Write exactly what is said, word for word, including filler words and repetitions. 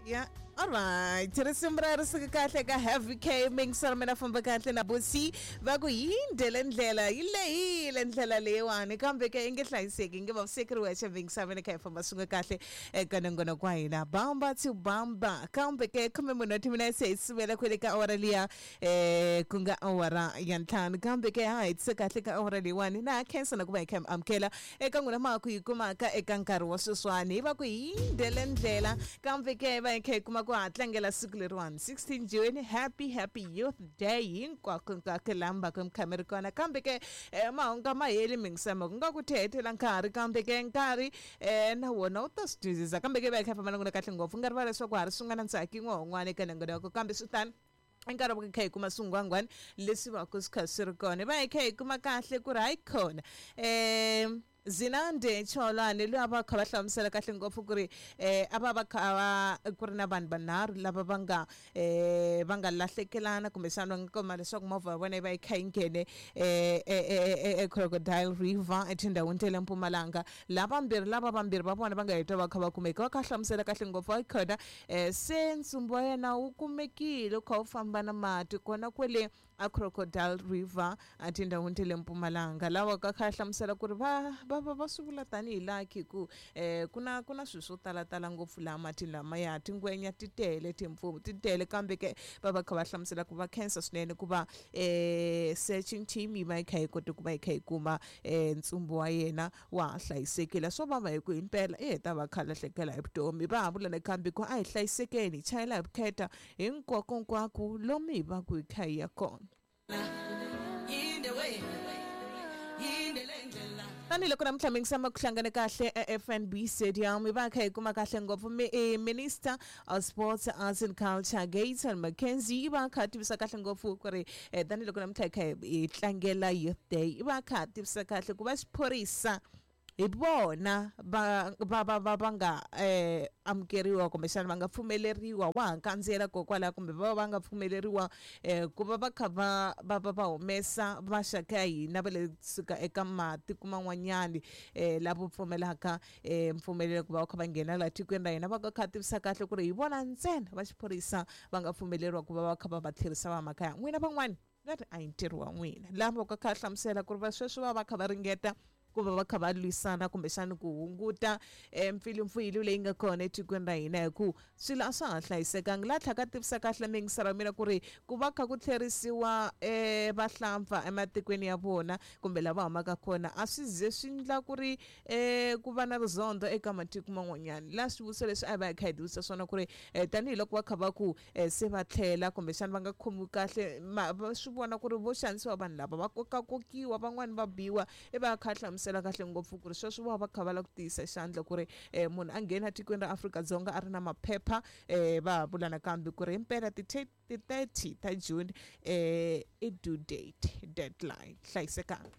Yeah. Alright, risimu ra ri suka kahle ka Heavy K mixer mina famba kahle na Bosi va ku yindele ndlela yi lehile ndlela leyiwani kambe ke yi nge hlayiseki nge vaviseki ri wexe mixer mina kha hi famba swin'we kahle eka nongonoko wa hina bamba to bamba kambe ke khume mune wa timinetse hi sivela kwele ka awara liya eh ku nga awara ya ntlhanu kambe ke ha hetise kahle ka awara leyiwani na khensa na ku va hi kha hi amukela eka n'wina ma ku yi kumaka eka nkarhi wa sweswiwani hi va ku yindele ndlela kambe ke va hi kha hi kuma ku ha tlangela siku leriwani sixteen June, happy happy Youth Day hinkwako hinkwako laha mi va ku mi kha mi ri kona kambe ke eh, mahungu ma heli mingisama ku nga ku tihetela nkarhi kambe ke nkarhi eh, na wona wu ta swi twisisa kambe ke va hi kha hi famba na n'wina kahle ngopfu nga rivala leswaku ha ri swin'wana ntsaki yin'wana eka nongonoko kambe swi tani nkarhi wa kha hi kuma swingwangwani leswi va ku swi kha swi ri kona va hi kha hi kuma kahle ku ri hayi khona um Zinande Cholwane loyi a va kha va hlamusela kahle ngopfu ku ri eh a va va kha va ku ri na vanhu vanharhu lava va nga eh va nga lahlekelana kumbexana va nga kuma leswaku movha ya vona yi va yi kha yi nghene eh e Crocodile River etindhawini ta le Mpumalanga lavambirhi lava vambirhi va vona va nga heta va kha va kumeka va kha hlamusela kahle ngopfu va khona eh se ntsumbu wa yena wu kumekile wu kha wu famba na mati kona kwele a Crocodile River etindhawini ta le Mpumalanga lawa ka kha hlamusela ku ri va va va va swi vula tanihi lucky ku eh ku na ku na swilo swo talatala ngopfu laha matini lamaya tingwenya ti tele timpfuvu ti tele kambe ke va va kha va hlamusela ku va khensa swinene ku va eh searching team yi va yi kha yi kote ku va yi kha yi kuma eh ntsumbu wa yena wa ha hlayisekile swo vava hi ku himpela i heta va kha lahlekela hi vutomi va ha vula nakambe ku a hi hlayisekeni hi chayela hi vukheta hinkwakonkwako lomu hi va ku hi kha hi ya kona. Tanihiloko namuntlha mi ngisama ku hlangane kahle e F N B Stadium hi va kha hi kuma kahle ngopfu Minister of Sports, Arts and Culture Gayton McKenzie yi va kha tivisa kahle ngopfu ku ri tanihiloko namuntlha hi kha hi tlangela Youth Day yi va kha tivisa kahle ku va xiphorisa hi vona va va va va va nga eh amukeriwa kumbexana va nga pfumeleriwa wa ha kandziyela kokwalaho kumbe va va nga pfumeleriwa eh ku va va kha va va va va humesa maxaka ya hina va le suka eka matiko man'wanyani eh lavo pfumelaka eh mpfumelelo ku va va kha va nghena laha tikweni ra hina va kha tivisa kahle ku ri hi vona ntsena va xiphorisa va nga pfumeleriwa ku va va kha va va tlherisa va makaya n'wina van'wani va ri a hi ntirho wa n'wina lava va kha hlamusela ku ri va sweswi va va kha va ringeta ku va va kha va lwisana kumbexana ku hunguta mpfilumpfilu leyi nga kona etikweni ra hina hi ku swilo a swa ha hlayisekanga laha tlhaka tivisa kahle mingisara wa mina ku ri ku va kha ku tlherisiwa um vahlampfa ematikweni ya vona kumbe lava humaka kona a swi ze swi endla ku ri um ku va na rizondho eka matiko man'wanyana laha swivutiso leswi a hi va hi kha hi tivisa swona ku ri um tanihiloko va kha va ku um se va tlhela kumbexana va nga khomiwi kahle va swi vona ku ri vo xanisiwa vanhu lava va kokakokiwa van'wani va biwa i va kha hlamusela kahle ngopfu ku ri sweswo va va kha va lava ku tiyisa xandla ku ri eh, munhu a nghena tikweni ra Afrika-Dzonga a ri na maphepha eh, va vula nakambe ku ri himpela ti thirty ta June eh, i due date deadline hlayisekanga.